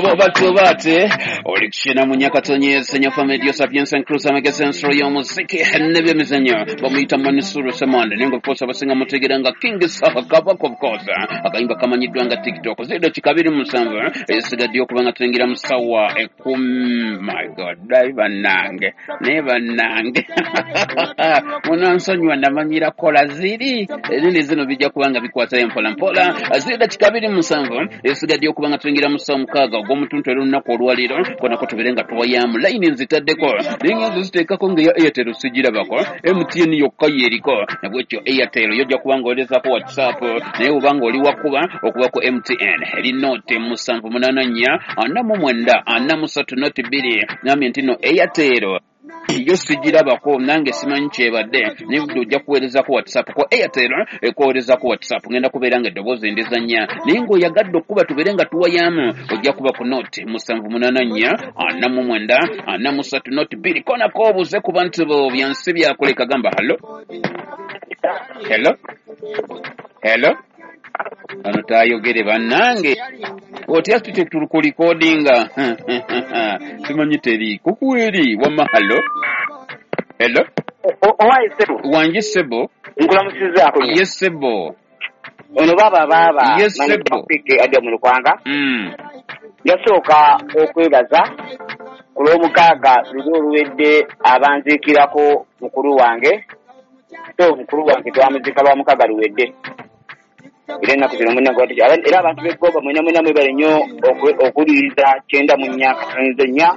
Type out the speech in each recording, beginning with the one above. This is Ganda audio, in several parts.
Batubaate olikishina munyakatonyese nyafa media sapiens and cruise amagezi ensolo y'omuziki n'ebyemizannyo bamuyita Manisuru Semande, naye nga of course abasinga mutegeera nga King Saha Kabaka. Of course akayimba kamanyiddwa nga TikTok. Ziri 27 esigaddeyo okuba nga tuyingira mu ssaawa 10. My God, naye bannange, naye bannange, munansonyiwa, namanyira kola ziri ezindi zino bijja kuba nga bikwatayo mpola mpola. Ziri 27 esigaddeyo okuba nga tuyingira mu ssaawa 6 ogw'omutuntu era olunaku olwaleero konako tubeere nga tuwayamu layini nzitaddeko, naye nga nze ziteekako nga eya Airtel sigirabako, MTN yokka yeriko. Nabwekyo Airtel yojja kuba nga olezaako WhatsApp, naye oba nga oli wakuba okuba ku MTN eri 078 49 43 02. Nambye nti no Airtel yo sigirabako, nange simanyi kyebadde, naye budde ojja kuweerezako WhatsApp ku Airtel, ekuweerezako WhatsApp. Ngenda kubeera nga eddoboozi ndizannya, naye ng'oyagadde okuba tubeere nga tuwayamu, ojja kuba ku 0784 49 43 02. Konako obuze ku bantu bo byansi byakuleka. Gamba hello, hello, hello. Ano tayogere bannange, otya tute tukulikodinga, simanyi teri kukweri wamma. Hello, hello. Owaye ssebo. Wangi ssebo. Nkulamusizaako. Ye ssebo. Ono baaba baaba. Ye ssebo. Adya mu Lukwanga. Yasooka okwebaza ku lw'omukaaga luli oluwedde abanziikirako mukulu wange. So mukulu wange twamuzika lwa mukaaga luwedde, era ennaku zino munna era abantu b'eggomba mwena mwena mwebale nnyo okuwuliriza 94.4.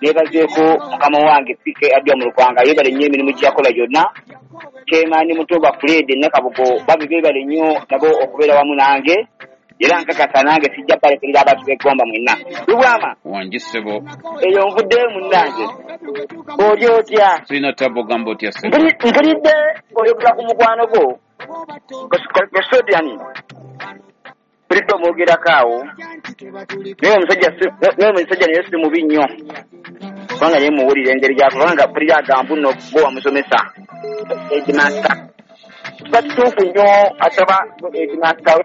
Neebazeeko mukama wange PK Adya mu Lukwanga, yeebale nnyo emirimu gye yakola gyonna. Kyemaani Mutoba Fred Nakabugo babi beebale nnyo nabo okubeera wamu nange, era nkakasa nange sijja balekerera abantu b'eggomba mwenna. Lubwama. Wangi ssebo. Eyo nvuddeyo munnange, oli otya? Sirina tabo, gamba otya ssebo? Mpulidde oyogera ku mukwano gwo Custodian, mpulidde omwogerako awo, naye omusajja naye si mubi nnyo, kubanga naye muwulira engeri gyakubanga mpulira agamba nno gwe wamusomesa headmaster. Kiba kituufu nnyo ataba headmaster we,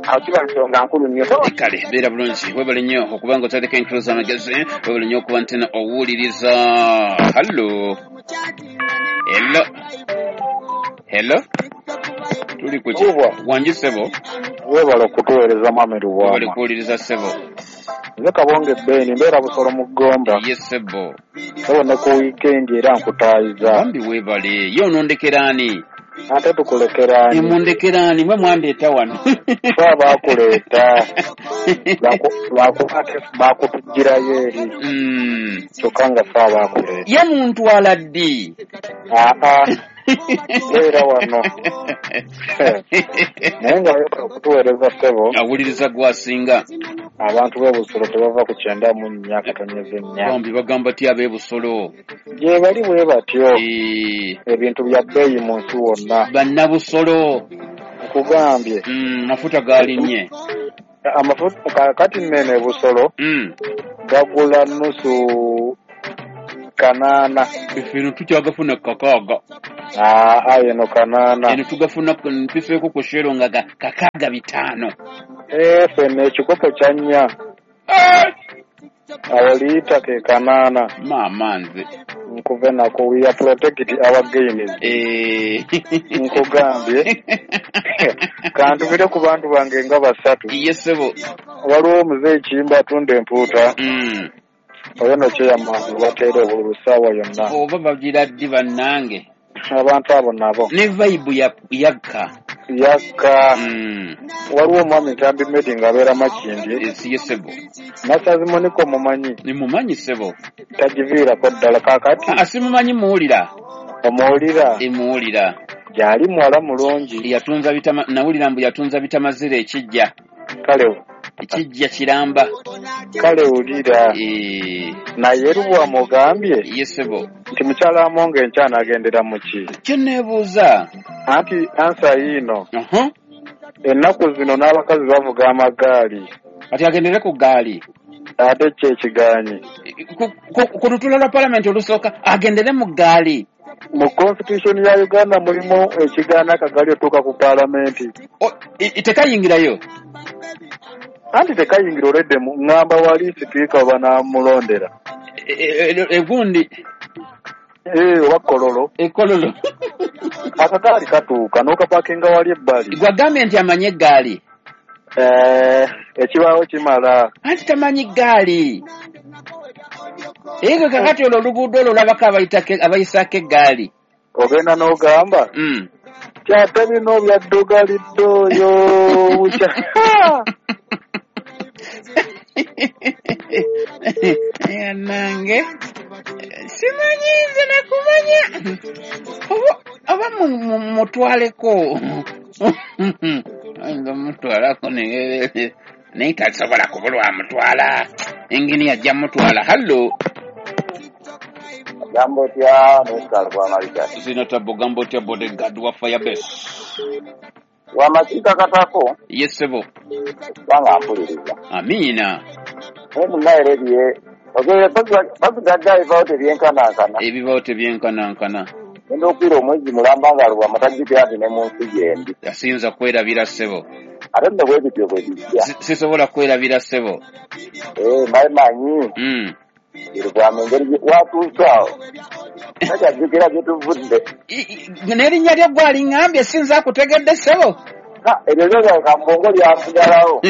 awo kiba nsonga nkulu nnyo. Kale beera bulungi, webale nnyo okuba nga otandika enkulu z'amagezi, webale nnyo okuba nti owuliriza. Hello, hello, hello, tuli ku ki? Wangi ssebo. Webale okutuweereza mwami Webale Lubwama. Kuwuliriza ssebo. Nze Kabonge Beni, mbeera Busolo mu Ggomba. Ye ssebo. Sebo, ne ku wiikendi era nkutaayiza. Bambi weebale. Ye onondekeraani? Ate tukulekeraani? Emundekeraani mwe mwandeeta wano? Fe abaakuleeta, lwakuba ate baakutugirayo eri, kyokka nga fe abaakuleeta. Ye muntwala ddi? Aa, beera wano, naye nga webale okutuweereza ssebo. Awuliriza gwasinga. Abantu b'e Busolo tebava ku 94.4. Bambi bagamba ti ab'e Busolo? Gye bali bwe batyo. Ebintu bya bbeeyi mu nsi wonna. Bannabusolo. Nkugambye. Mafuta galinnye. Amafuta kaakati nene e Busolo gagula nusu 800. Ffe eno tukyagafuna 600. Aa, eno 800. Eno tugafuna mpifeeko ku Shell nga ga 65. Ffenna ekikopo kya 4 awo liita ke 800. Maama nze. Nkuve nako, we are protect our gains. Nkugambye, kantubire ku bantu bange nga basatu. Ye ssebo. Waliwo omuzeeyi Kiyimba atunda empuuta, oyo no kyeyamaani bateera obululu ssaawa yonna. Oba bagira ddi bannange? Abantu abo nabo. Ne vibe yakka. Yakka. Waliwo omwami Ntambi Medi ng'abeera Makindye. Ye ssebo. Masazi Moniko mumanyi? Nimumanyi ssebo. Tagiviirako ddala kaakati. Ah, simumanyi, muwulira. Omuwulira? Emuwulira. Gyali muwala mulungi. Yatunza bitama, nawulira mbu yatunza bitamazira ekijja. Kale. Ekijja kiramba. Kale wulira. Naye Lubwama ogambye Ye ssebo. nti mukyala Amongo enkya anaagendera mu ki? Kye neebuuza. Anti ansa yiino. Ennaku zino n'abakazi bavuga amagaali. Kati agendere ku ggaali. Ate ki ekigaanyi? Ku lutuula lwa palamenti olusooka agendere mu ggaali. Mu constitution ya Uganda mulimu ekigaana akagaali otuuka ku paalamenti. Tekayingirayo. Anti tekayingira olwedde ŋŋamba wali sipiika banamulondera. Egundi oba Kololo. Ekololo. Akagaali katuuka n'okapakinga wali ebbali. Gwagambye nti amanyi eggaali. Ekibaawo kimala. Anti tamanyi ggaali. Ego kakati olwo oluguudo olwo olabako abayisaako eggaali. Ogenda n'ogamba? Kyate bino byaddugalidde oyo bukya. Nange simanyi nze nakumanya oba mutwaleko nga mutwalako naye tasobola kubulwa mutwala engini ajja mutwala. Hallo gambo otya nesaalubwamalika zino tabo gambo otya bodyguard wa Firebase wamakiika katako. Yesebo kubanga mpuliriza. Amiina. Naye munnaye ebye bazigadde ebibaawo tebyenkanankana. Ebibaawo tebyenkanankana. Ngenda okwira omwezi mulamba nga Lubwama tajjukira nti ne mu nsi gyendi. Siyinza kwerabira ssebo. Ate nno bwe bityo bwe bijja. Sisobola kwerabira ssebo. Mbaye manyi. Lubwama engeri watuuse awo takyajjukira gye tuvudde. N'erinnya lyo ggwe aliŋŋambye sinza kutegedde ssebo. Eryo lyo kambongo lyasigalawo.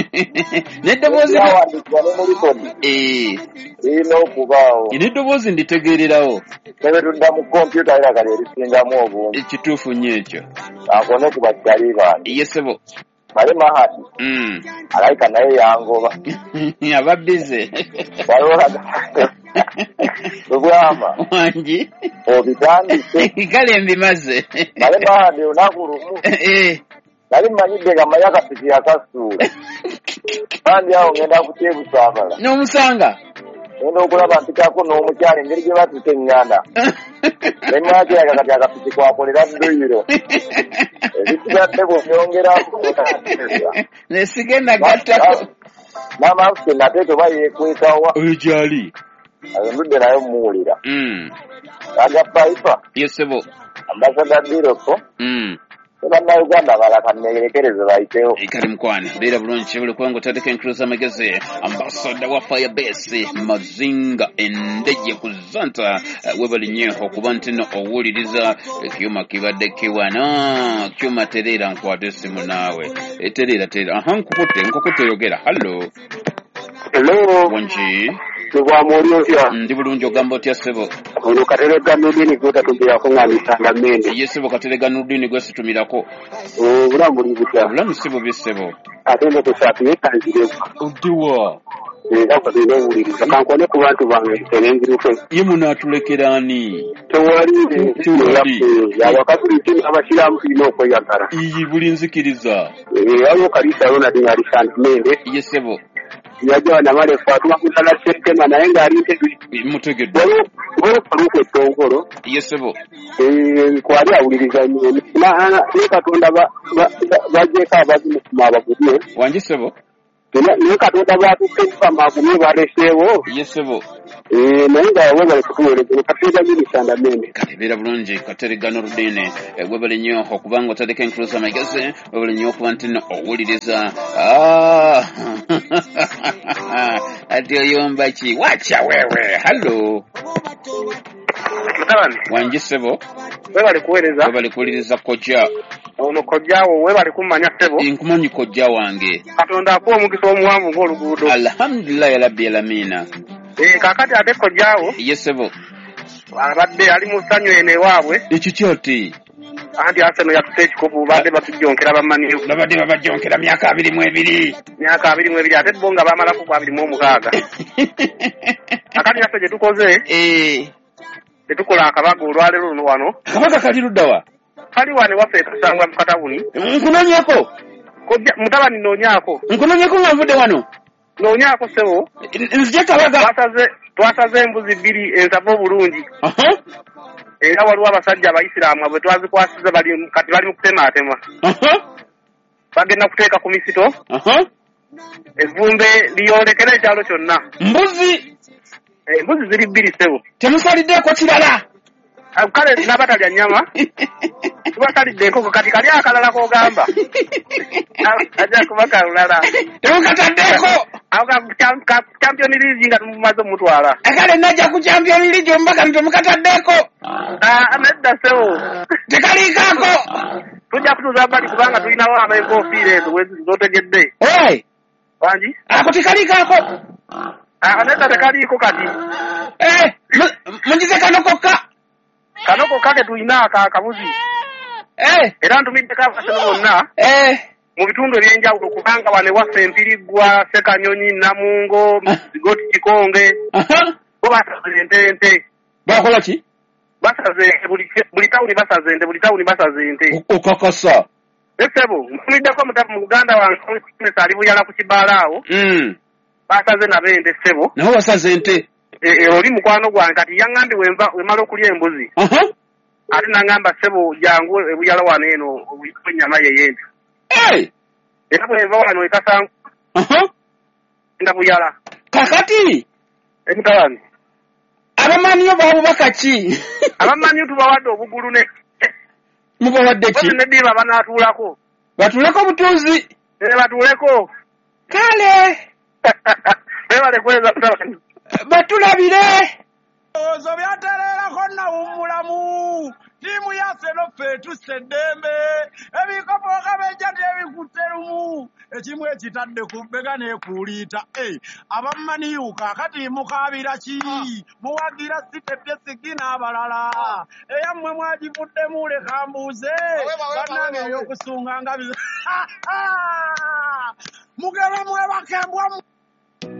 N'eddoboozi lyawandiikibwa ne mu likoni. Lirina okubaawo. N'eddoboozi nditegeererawo. Ne bwe tudda mu kompyuta era kali erisingamu obungi. Ekituufu nnyo ekyo. Akone ku bakyali bange. Ye ssebo. Male Mahadi. Alayika naye yangoba. Aba bize. Waliwo Lubwama. Wangi. Obitandise. Kale mbimaze. Male Mahadi olunaku lumu. Nali mmanyidde nga mmanyi akapiki yakasuula. Kandi awo ngenda kutyebusaabala. N'omusanga? Ngenda okulaba mpitako n'omukyala engeri gye batuuka eŋŋanda. Ne mmakiraga kati akapiki kwakolera dduyiro. Ebisigadde bw'obyongerako. Ne sigenda gattako. N'amaaso nate toba yeekwekawa. Oyo gy'ali. Ayo ndudde naye mmuwulira. Aga Piper. Yes ssebo. Ambassador Biroko. Bannayuganda abalala kanneerekereze bayitewo. Kale mukwano beera bulungi kibule kubanga otandika enkulu z'amagezi. Ambassador wa Firebase Mazinga Endeje ku Zanta, webale nnyo okuba nti nno owuliriza ekyuma kibadde kiwana kyuma tereera nkwate essimu naawe tereera tereera. Aha nkukutte yogera. Hallo. Hello. Wangi. Lubwama oli otya? Ndi bulungi ogamba otya ssebo? Ono Kateregga Nurdini gw'otatumirako nga nsanga Mmende. Ye ssebo Kateregga Nurdini gwesitumirako. Obulamu buli butya? Obulamu si bubi ssebo. Ate nno tusaatire kanzireko. Oddiwa? Era bagenda owuliriza kankone ku bantu bange enenziruke. Ye munaatulekera ani? Tewali. Abakatuliki n'abasiraamu tulina okweyagala. Iyi buli nzikiriza. Waliwo Kalisa Ronald ng'alisanga Mmende. Ye ssebo. Yajja namala Fatuma Mutala Ssentema naye ng'ali Ntebe. Mutegedde. Waliwo Faruku Ettongolo. Ye ssebo. Kwali awuliriza nnyo. Ne Katonda bagyeko abazimukuma abagumye. Wangi ssebo. Naye Katonda bw'atuuka ekifama agumye baleseewo. Ye ssebo. Naye nga webale kutuweereza Kateregga Minisanda Mmende. Kale beera bulungi Kateregga Nurdini, webale nnyo okubanga otandika enkulu z'amagezi, webale nnyo okuba nti nno owuliriza. Ati oyomba ki? Wacha wewe. Hallo. Mutabani. Wangi ssebo. Webale kuweereza. Webale kuwuliriza kojja. Ono kojjaawo webale kummanya ssebo. Nkumanyi kojja wange. Katonda akuwa omukisa omuwanvu ng'oluguudo. Alhamdulillahi rabbil alamina. Kaakati ate kojjaawo. Ye ssebo. Abadde ali mu ssanyu eno ewaabwe. Ekiki ati? Anti Arsenal yatuse ekikopo badde batujjonkera bamaniyo. Babadde babajjonkera myaka 22. Myaka 22 ate bo nga bamalako ku 26. Akati naffe gye tukoze. Tetukola akabaga olwaleero luno wano. Akabaga kali ludda wa? Kali wano ewaffe e Kasangwa mu katawuni. Nkunonyeeko. Kojja mutabani noonyaako. Nkunonyeeko nga nvudde wano. Noonyaako ssebo. Nzije kabaga. Twasaze embuzi bbiri ensava obulungi. Era waliwo abasajja abayisiraamu bwe twazikwasiza kati bali mu kutemaatema. Bagenda kuteeka ku misito. Evvumbe liyolekera ekyalo kyonna. Mbuzi. Embuzi ziri bbiri ssebo. Temusaliddeeko kirala. Kale n'abatalya nnyama tubasalidde enkoko, kati kali akalala k'ogamba ajja kuba kalulala. Temukataddeeko. Awo ka Champion League nga tumumaze omutwala. Kale najja ku Champion League omubaka temukataddeeko. Nedda ssebo. Tekaliikaako. Tujja kutuuza bbali kubanga tulinawo ab'enkofiira ezo z'otegedde. Wangi? Ako tekaliikaako. Nedda tekaliiko kati. Mugize kano kokka. Kano kokka ke tulina akabuzi. Era ntumiddeko abaseno bonna. Mu bitundu ebyenjawulo kubanga wano ewaffe Empiriggwa, Ssekanyonyi, Namungo, Zigoti, Kikonge. Bo basaze ente ente. Bakola ki? Basaze ente, buli tawuni basaze ente, buli tawuni basaze ente. Okakasa. Ssebo, ntumiddeko mu Buganda wange ali Buyala ku kibaala awo. Basaze nabo ente ssebo. Nabo basaze ente. Oli mukwano gwange kati yaŋŋambye wemala okulya embuzi. Ate n'aŋŋamba ssebo jangu e Buyala wano eno ennyama ye y'ente. Era bweva wano ekasangu nda Buyala. Kakati emutabani abamanyi babubaka ki? Abamanyi tubawadde obugulu ne mubawadde ki? Neddiba banaatuulako. Batuuleko butuuzi. Batuuleko. Kale bebale kuweza mutabani. Batulabire. Ozo byatererako nawummulamu. Ttiimu yaffe noffe etusse eddembe. Ebikopo kabejja tebikutte lumu. Ekimu ekitadde ku bbega n'ekuuliita. Abamaniyu kaakati mukaabira ki? Muwagira sitepyesigi n'abalala. Eyammwe mwagivuddemu leka mbuuze. Bannange ey'okusunga nga bize. Mugere mwebake mbwa.